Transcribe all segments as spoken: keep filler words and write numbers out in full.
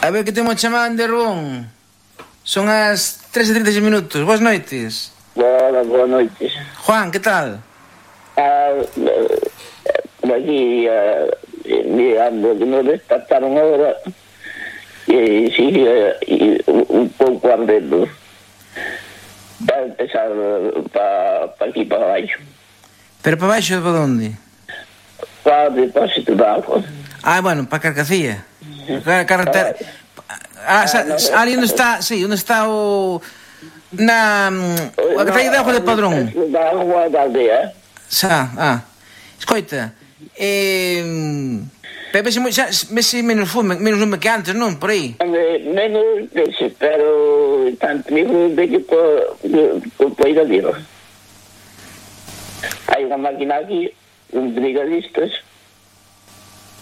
A ver que temos chamada de Ron. Son as tres e trinta e seis minutos. Boas noites. Boa, boa noites. Juan, que tal? Ah, por aquí, ah, mirando que nos despertaron ahora e sigue un pouco ardendo. Vai empezar para pa aquí, para baixo. Pero para baixo de para onde? Para o depósito de agua. Ah, bueno, para Carcacía. Para carretera. Ah, sa, sa, ali onde está, sí, onde está o na a carretera de agua de Padrón. Da agua da aldea. Xa, ah. Escoita, eh pero vese, xa, vese menos fume, menos lume que antes, non? Por aí. Menos dese, pero tanto mesmo de que por por ir a dir. Hai unha máquina aquí, uns brigadistas,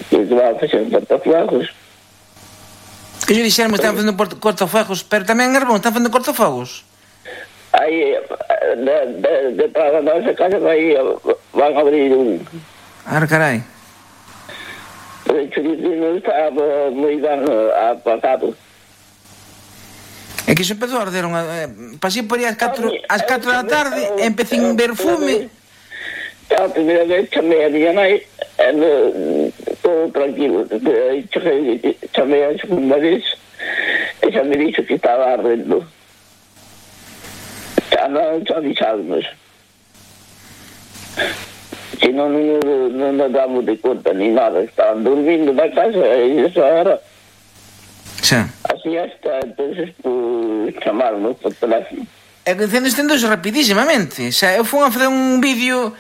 que van a facer cortafuegos. Que yo dixeron que están facendo cortafuegos, pero tamén en Arbón están facendo cortafuegos. Aí, de, de, de para a nosa casa, vai, van a abrir un... Ah, carai. Pero o chorizo non está moi ben apagado. É que iso empezou a arder unha... Eh, pasei por aí ás catro, ás catro da tarde e empecé a ver fume. A primeira vez chamei a miña nai, e todo tranquilo. Chamei a segunda vez, e xa me dixo que estaba ardendo. Xa non xa avisamos. Se non, non, non nos damos de conta ni nada, estaban dormindo na casa e esa hora. Xa. Así hasta, entonces, pues, chamarnos por teléfono. E que incendo estendouse rapidísimamente. Xa, eu fui a fazer un vídeo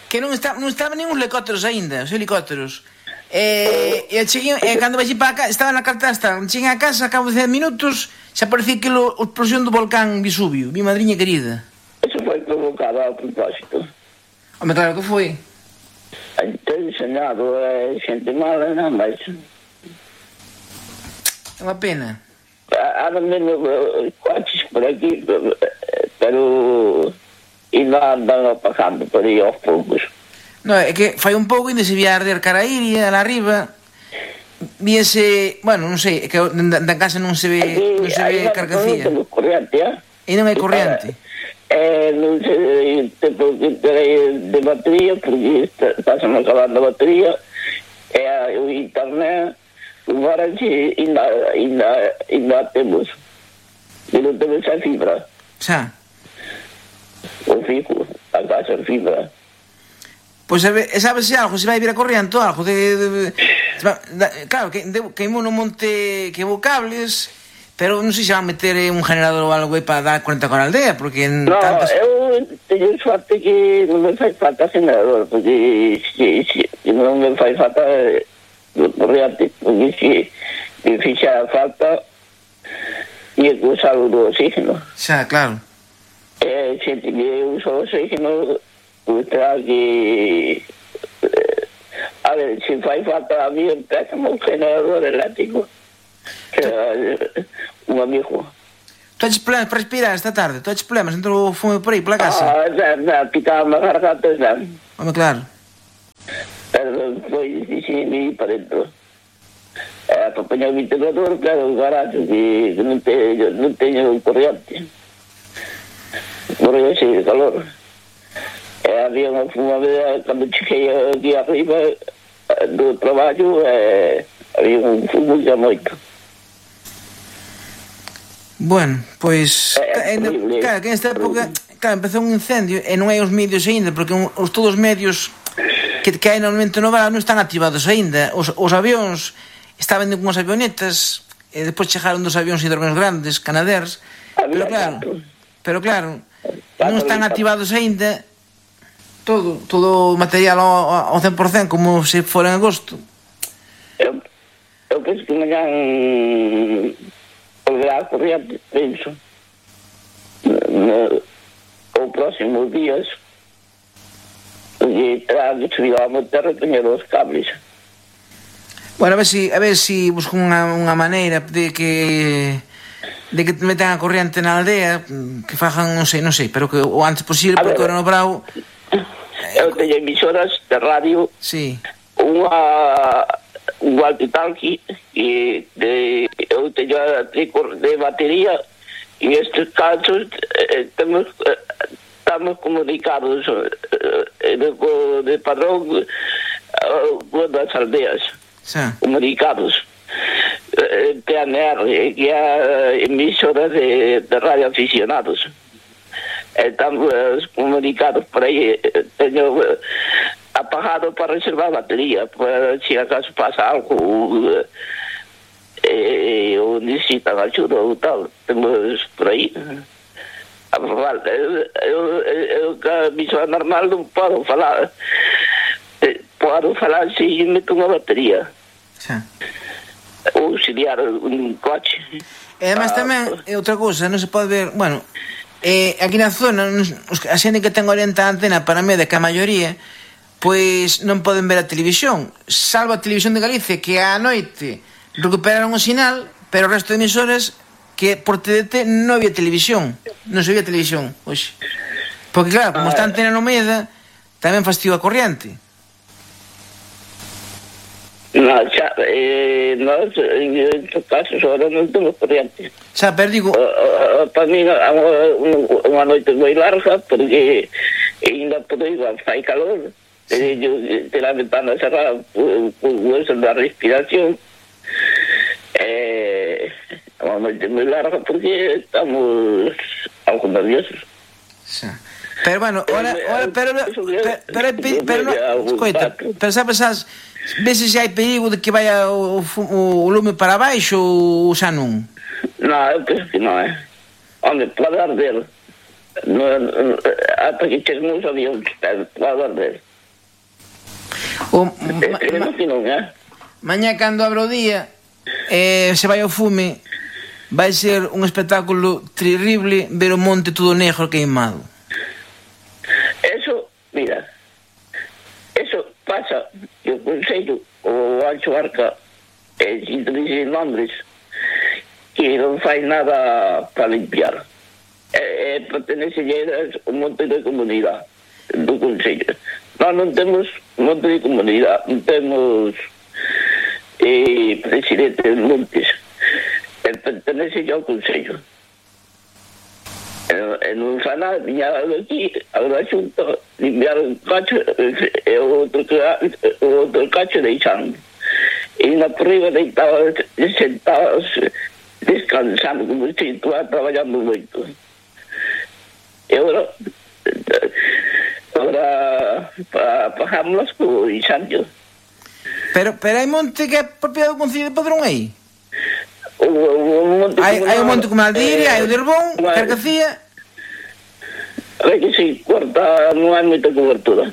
que non, está, non estaban nin os helicópteros aínda, os helicópteros. E, e cheguei, e cando vai para cá, estaba na cartasta, cheguei a casa, a cabo de dez minutos, xa parecía que a explosión do volcán Vesubio, mi madriña querida. Eso foi provocado a propósito. Home, claro que foi. Entón, senado, é xente mala, non máis. É unha pena. Ahora menos coches por aquí, pero ainda andan apagando por aí aos poucos. No, é que fai un pouco ainda se vía arder cara a Iria, lá arriba. Víese, bueno, non sei, é que da, da casa non se ve, non se ve Carcacía. Non temos corriente, eh? E non hai corriente. Eh, non sei, tempo que terei de batería, porque pasan acabando a batería, e o internet, agora que ainda, ainda, ainda temos, e non temos a fibra. Xa. O fijo, a casa fibra. Pois pues, sabes se algo, se vai vir a corriente ou algo de, de, de, de, claro, que queimou no monte, queimou cables, pero non sei se van meter un generador ou algo aí para dar cuenta con a aldea, porque en no, tantas... eu teño suerte que non me fai falta generador, porque se, se, se non me fai falta corriente, porque se me fixa falta e que usar o do oxígeno. Xa, claro. E xente que usa o oxígeno, pues terá que... Eh, a ver, se fai falta a mí, empeza un generador eléctrico. Un amigo. Tu haches problemas para respirar esta tarde? Tu haches problemas? Entrou o fume por aí, pola casa? Ah, já, já, picaba a garganta, já. Home, claro. Pero foi difícil ir para dentro. É, para apanhar o ventilador, claro, o garaje, que non teño, non teño corriente. Morreu así de calor. E había unha fumadera, cando cheguei aquí arriba do traballo, e había un fumo xa moito. Bueno, pois é, eh, claro, que nesta época claro, empezou un incendio e non hai os medios aínda, porque un, os todos os medios que, que hai normalmente no verano non están activados aínda. Os, os avións estaban con as avionetas e despois chegaron dos avións hidroavións grandes, canaders, pero claro, pero claro, non están activados aínda todo, todo o material ao, ao cen por cen como se fora en agosto. Eu, eu penso que mañan volverá a corriente, penso. No, ou próximos días, porque terá que subir a monterra e poñer os cables. Bueno, a ver si, a ver si busco unha, unha maneira de que de que metan a corriente na aldea, que fajan, non sei, non sei, pero que o antes posible, porque ahora no Bravo... Eu teño emisoras de radio, sí. unha un walkie-talkie, e de, eu de batería, y en estos casos eh, tenemos, eh, estamos comunicados eh, de, de padrón eh, con las aldeas, sí. Comunicados. Eh, T N R, que hay emisoras de, de radioaficionados. Estamos comunicados por ahí. Tengo eh, apagado para reservar batería, para si acaso pasa algo eh, o necesitan ayuda o tal. Temos por aí a falar. Eu, eu, eu, a misión normal non podo falar. Podo falar se meto unha batería. Sí. Ou auxiliar un coche. E además ah, tamén, é outra cousa, non se pode ver, bueno, eh, aquí na zona, a xente que ten orienta a antena para media, que a maioría, pois non poden ver a televisión, salvo a Televisión de Galicia, que á noite recuperaron o sinal, pero o resto de emisores que por T D T non había televisión, non se había televisión hoxe. Porque claro, como está a antena no medio, tamén fastidio a corriente. No, xa, eh, nós, en estos casos, ahora non temos corriente. Xa, pero digo... Uh, uh, para mí, unha noite moi larga, porque ainda por igual fai calor, sí. Yo te la ventana cerrada por hueso da respiración, eh, unha noite moi larga, porque estamos algo nerviosos. Sí. Pero bueno, ahora, ahora pero, pero, pero, pero, pero, no, escoita, pero sabes, sabes, veces se hai perigo de que vaya o, o, o lume para baixo ou xa non? Non, eu penso que non, eh. Hombre, pode arder. No, ata que chegamos os avións, pode arder. O, ma, ma, que non, eh? Mañá, cando abra o día, eh, se vai ao fume, vai ser un espectáculo terrible ver o monte todo negro queimado. Eso, mira, eso pasa que o Consello, o Ancho Arca, eh, sin dicir nombres, que non fai nada para limpiar. Eh, eh, pertenece a un monte de comunidade do Consello. Nós non temos monte de comunidade, non temos eh, presidente de montes. Eh, pertenece ao Consello. E non fa nada, viña aquí, agora xunto, limpiar un cacho, e o outro, o outro cacho deixando. E na por riba deitados, sentados, descansando, como se estaba traballando moito. E agora, agora, pagámoslas co Ixanio. Pero, pero hai monte que é propiedade do Concello de Padrón aí? O, o monte hai, hai o monte como Aldiria, hai o de Herbón, Carcacía. É que si, corta, non hai moita cobertura.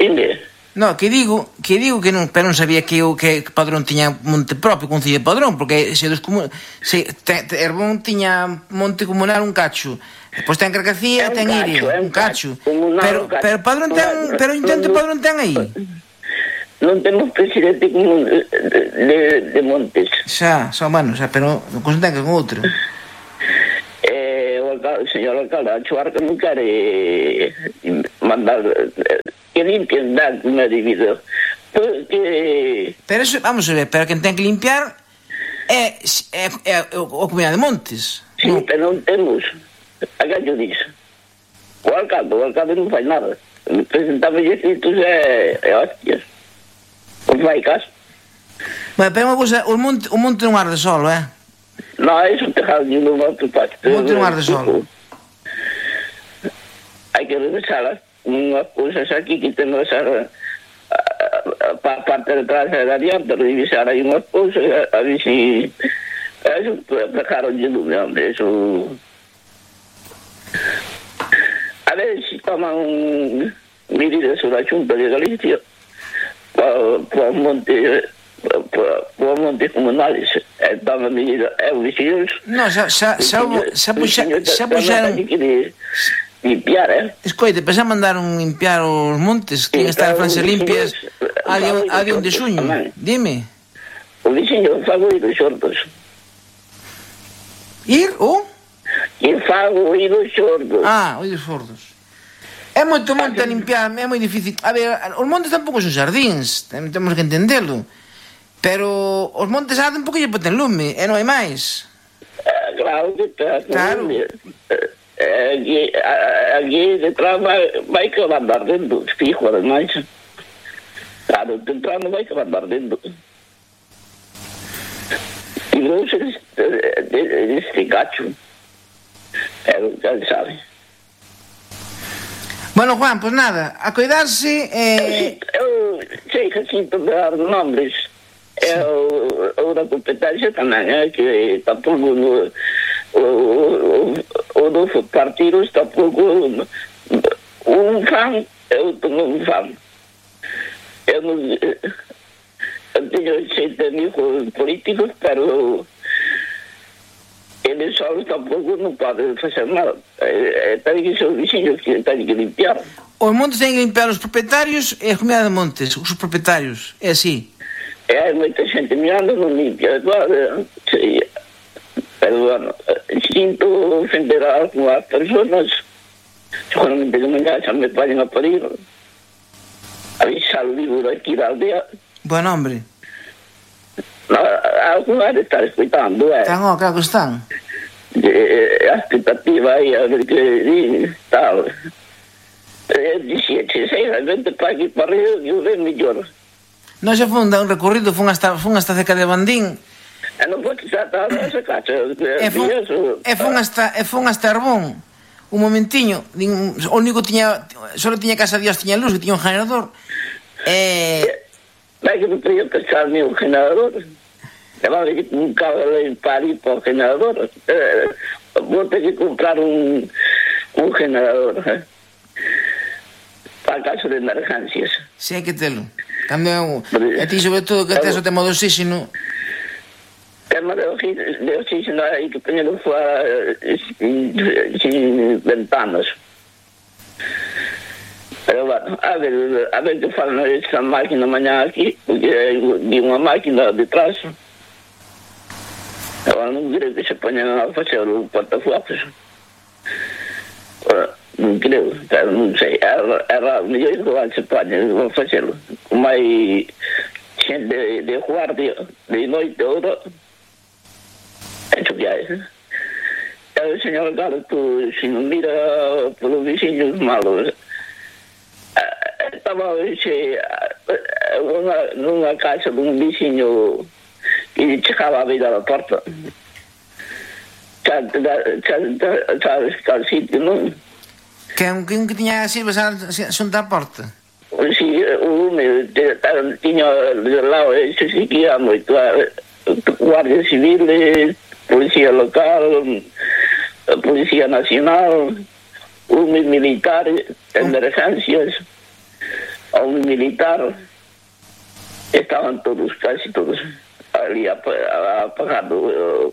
Inde? No, que digo, que digo que non, pero non sabía que o que Padrón tiña monte propio, Concello de Padrón, porque se dos como se te, te, Herbón tiña monte comunal un cacho. Depois ten Carcacía, ten Iria, un cacho. Pero pero Padrón ten, pero intento Padrón ten aí. Non temos presidente común de, de, de montes. Xa, xa, bueno, xa, pero non consentan que con outro. Eh, o, alcalde, o señor alcalde, a Chuarca non quere mandar que limpien da unha división. Porque... Pero eso, vamos a ver, pero quen ten que limpiar é, é, é o, o Comunidade de Montes. Sí, non? Pero non temos. A que yo dixo? O alcalde, o alcalde non fai nada. Presentamos escritos e, e hostias. Non fai caso. Bueno, pero unha cousa, o monte, o monte non arde solo, eh? Non, é un tejado de un outro parte. O monte non arde solo. Hai que revisalas. Unhas cousas aquí que temos a, a, a, a parte de atrás e de adiante, revisar aí unhas cousas, a, a ver si... Eso dejaron de lume, hombre, eso... A ver si toman medidas sobre a Xunta de Galicia para os montes para os montes comunales, toman medidas, é o vecinos. Non, xa xa xa xa puxaron limpiar, eh? Escoite, pensa mandaron limpiar os montes, que están en Francia limpias a de onde xuño. Dime. O veciño fago ir os xordos. Ir o? Ir fago ir os xordos. Ah, ir os xordos. É moito monte a limpiar, é moi difícil. A ver, os montes tampouco son xardíns, temos que entendelo. Pero os montes arden porque lle poten lume, e non hai máis. Eh, claro que está. Claro. Eh, eh, aquí, a- aquí detrás vai, vai que van ardendo, fijo, ademais. Claro, detrás non vai que van ardendo. E non se este gacho. Pero ya sabe. Bueno, Juan, pois pues nada, a cuidarse eh... Eu sei que sinto de dar nombres. Eu, eu da competencia tamén, é que tampouco no, o, o, o dos partidos tampouco un fan, eu tenho un fan. Eu non eu teño xente amigos políticos, pero eles solos tampouco non poden facer nada. Eh, ten que ser os vixiños que ten que limpiar. os montes ten que limpiar os propietarios e a comunidade de montes, os propietarios, é así. E hai moita xente mirando, non limpia, claro, sí. Pero, bueno, sinto ofender a algunas personas, seguramente que mañá xa me vayan a parir, avisar o libro aquí da aldea. Bueno, hombre. No, algunas están escoitando, eh. Están, oh, claro que están. De, a expectativa aí, a ver que di, tal. Eu dixía, che, sei, realmente para aquí para arriba, eu ven mellor. Non se funda un recorrido, fun hasta, fun hasta cerca de Bandín, E non podes tratar esa cacha. e fun, e fun hasta, e fun hasta Arbón, un momentiño, din, o único tiña, solo tiña casa Dios, tiña luz, que tiña un generador, e... Vai que me podía pensar ni un generador. E vai que un cabo en París por generador. Eh, vou ter que comprar un, un generador. Eh, para caso de emergencias. Si hai que telo. Tamén, e ti sobre todo que tes o tema do oxígeno. Tema de oxígeno, de oxígeno hai que poñerlo fora sin, sin ventanas. Pero bueno, a ver, a ver que falan esa máquina mañá aquí, porque vi unha máquina detrás. Agora non creo que se poñan a facer o portafuegos. Non creo, pero non sei. Era, era mellor igual se poñan a facelo. Como hai xente de, de guardia, de noite ahora, hecho que hai. E o señor Gato, se non mira polos vixiños malos, estaba xe, unha, nunha casa dun vixiño que chegaba a vida da porta. Xa, xa, xa, sabes cal sitio, non? Que un que, un que tiña así, xunta a porta. Si, o lume, tiña de lado, eso sí que ia moito. Guardia Civil, Policía Local, Policía Nacional, lume militar, emergencias, un militar, estaban todos, casi todos, ali apagando.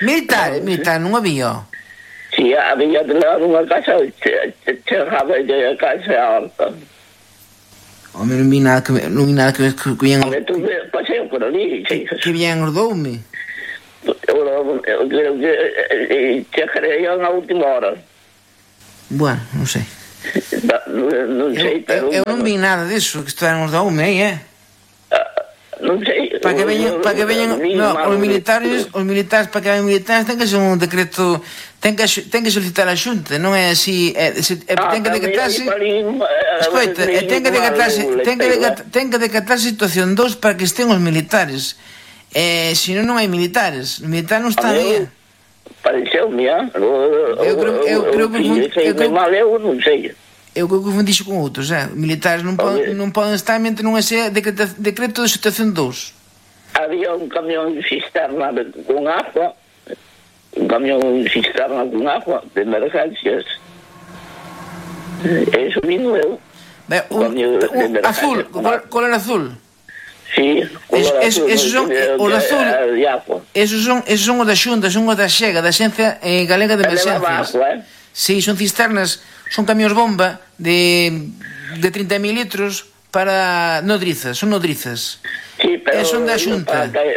Militar, militar, non había. Si, había de lado unha casa, chegaba de casa alta. Home, non vi nada que, non vi nada que, que, que viñan... Home, tú paseo por ali, sí. Que viñan os doume. Eu creo que chegaría na última hora. Bueno, non sei. Non sei, pero... Eu, eu non vi nada disso, que estaban os doume aí, eh? Non sei. Para que veñan, para que veñan, no, os militares, os militares, para que veñan militares ten que ser un decreto, ten que ten que solicitar a Xunta, non é así, é, se, é ten que decatarse. Escoita, é ten que decatarse, ten que decatarse, ten que decatarse situación dos para que estén os militares. Eh, se non non hai militares, os militares non están aí. Pareceu-me, ah? Eu creo, eu creo que eu creo mal eu non sei. Eu creo que confundixo con outros, eh? Militares non poden, non poden estar mentre non é decreto, decreto de situación dous. Había un camión cisterna con agua, un camión cisterna con agua de emergencias. Eso vino eu. Be, un, un, azul, color azul. Sí, color es, azul. Esos son os azul. Esos son, esos son os da Xunta, son os da Xega, da Xencia eh, Galega de Emergencias. Agua, eh? Sí, son cisternas, son camións bomba de de trinta mil litros para nodrizas, son nodrizas. Sí, pero e son da Xunta. Para,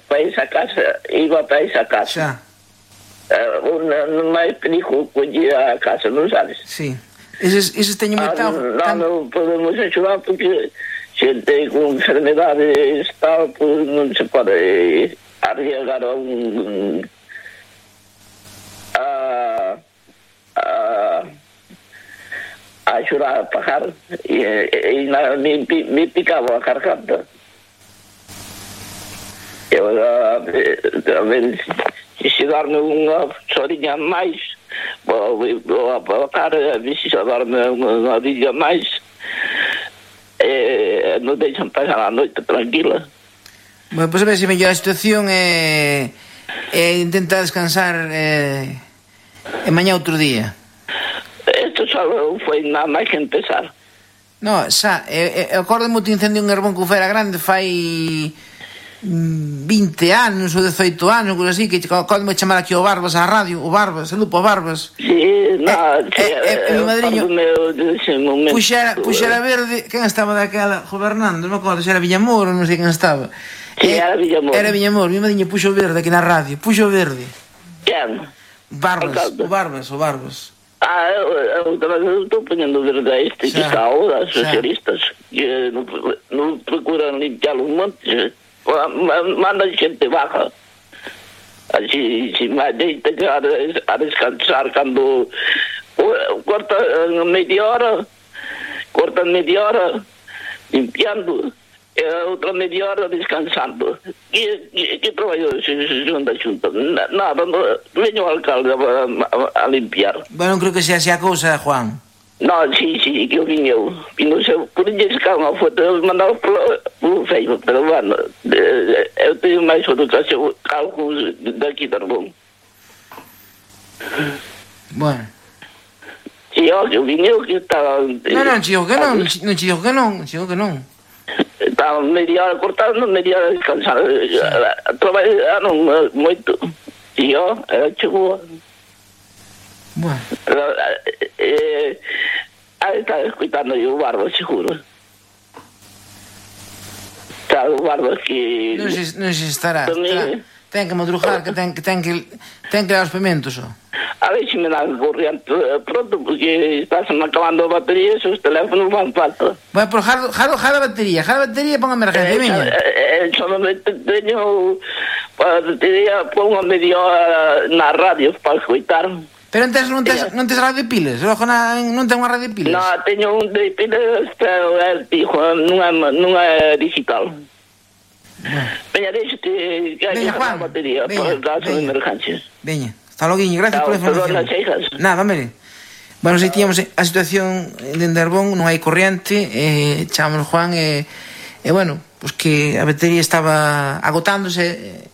para esa casa, iba para esa casa. Xa. Uh, non máis perigo coller a casa, non sabes? Sí. Eses, eses teñen moita... Ah, non, non podemos axudar porque xente con enfermedades tal, pues non se pode arriesgar a un a a a xurar a pagar e, e, e na, me, me picaba a garganta. E agora, a ver, se darme unha chorinha máis, vou, vou apagar, a ver se darme unha orilla máis, e non deixan pasar a noite tranquila. Bueno, pois a ver se mellor a situación é, é intentar descansar e, e mañá outro día. Isto só foi nada máis que empezar. No, xa, e, e, acordo moito incendio en Herbón que fera grande fai vinte anos ou dezoito anos, coisa así, que cando me chamar aquí o Barbas á radio, o Barbas, saludo o Barbas. Sí, no, e, e, e, e mi madriño puxera, puxera verde, quen estaba daquela gobernando, non me acordo se era Villamor ou non sei quen estaba. Sí, e, era Villamor. Era Villamor, mi madriño puxo verde aquí na radio, puxo verde. Quen? Barbas, o Barbas, o Barbas. Ah, eu estou poñendo verde a este que está ahora, socialistas, que non procuran limpiar os montes. Manda xente baja así, si máis deita que a, a descansar cando corta media hora cortan media hora limpiando e outra media hora descansando. Que, que, que traballo se xunta xunta? Nada, no, veño ao alcalde a, a, a limpiar. Bueno, non creo que sea así a cousa, Juan. No, sí, sí, que eu vim eu. E non sei, por lle sacar unha foto, eu mandaba polo Facebook, pero bueno, eu teño máis educación que algúns daqui de Herbón. Bueno. Si, ó, que eu vim eu que estaba... Non, non, chico que non, non chico que non, chico que non. Estaba media hora cortando, media hora descansando. Traballaron moito. Si, ó, era chegou... Bueno. Eh, ahí está escuchando yo Barba, seguro. Está o Barba que... Non se, non se estará. estará. Ten que madrugar, que ten que ten que ten que dar os pimentos, ó. A ver se me dan corriente pronto, porque está se me acabando a batería, esos teléfonos van falta. Bueno, por jaro, jaro, jaro a batería, jaro a batería, pon a emergencia, viña. Eh, eh, solamente teño a batería, pon a media hora na radio para escutar. Pero non tes, non tes, non tes radio de pilas? Logo na, non ten unha radio de pilas? No, teño un de pilas, pero é fijo, non é, non é digital. Bueno. Veña, deixate que hai que a batería para el caso de emergencias. Veña, hasta logo, gracias por a información. Nada, mire. Bueno, se tíamos a situación de Herbón, non hai corriente, eh, chamamos Juan, e, eh, eh, bueno, pues que a batería estaba agotándose. Eh,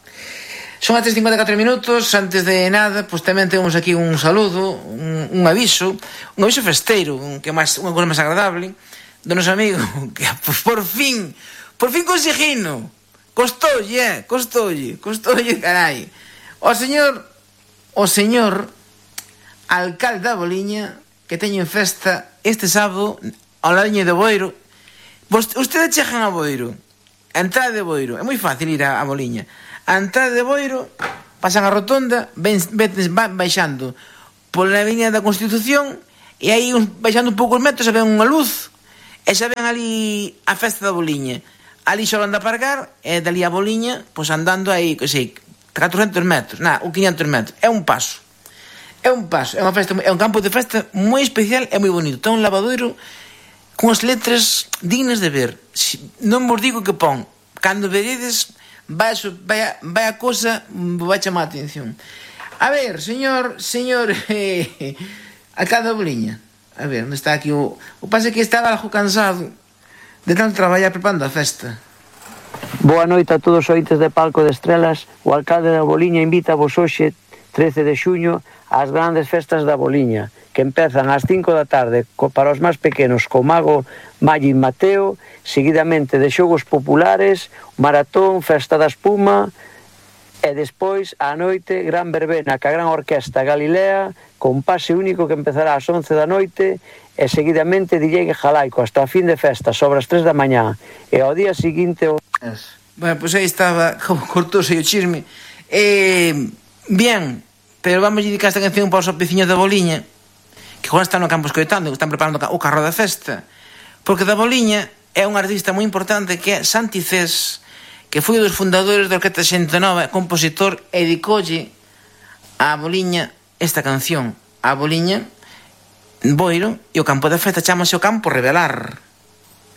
Son as tres e cincuenta e catro minutos. Antes de nada, pois tamén temos aquí un saludo, un, un aviso, un aviso festeiro, un, que máis, unha cousa máis agradable, do noso amigo, que pois, por fin, por fin conseguino, costoulle, eh, costoulle, costoulle, carai. O señor, o señor alcalde da Boliña, que teño en festa este sábado, ao ladiño de Boiro. Ustedes chegan a Boiro, a entrada de Boiro, é moi fácil ir a, a Boliña. A entrada de Boiro, pasan a rotonda, ven, ven, van baixando pola avenida da Constitución, e aí baixando un pouco os metros se ven unha luz, e se ven ali a festa da Boliña. Ali só anda a pargar, e dali a Boliña, pois andando aí, que sei, catrocentos metros, na, ou quinhentos metros. É un paso. É un paso, é unha festa, é un campo de festa moi especial e moi bonito. Ten un lavadoiro con as letras dignas de ver. Non vos digo que pon, cando veredes, vai, vai, a, vai a cosa, vai chamar a atención. A ver, señor, señor eh, alcalde da Boliña, a ver, onde está aquí o... O pase que estaba algo cansado de tanto traballar preparando a festa. Boa noite a todos os ointes de Palco de Estrelas. O alcalde da Boliña invita vos hoxe, trece de xuño, ás grandes festas da Boliña, que empezan ás cinco da tarde para os máis pequenos co mago Magin Mateo, seguidamente de xogos populares, maratón, festa da espuma, e despois á noite gran verbena ca gran orquesta Galilea con pase único que empezará ás once da noite e seguidamente D J Jalaico hasta a fin de festa sobre as tres da mañá e ao día seguinte o... Bueno, pois pues aí estaba como cortouse o chisme. Eh, bien, pero vamos a dedicar esta canción para os veciños da Boliña, que agora están no campo escoitando, que están preparando o carro da festa, porque da Boliña é un artista moi importante que é Santi Cés, que foi un dos fundadores da Orquesta xente nova, compositor, e dedicoulle a Boliña esta canción, a Boliña, Boiro, e o campo da festa chamase o Campo Revelar.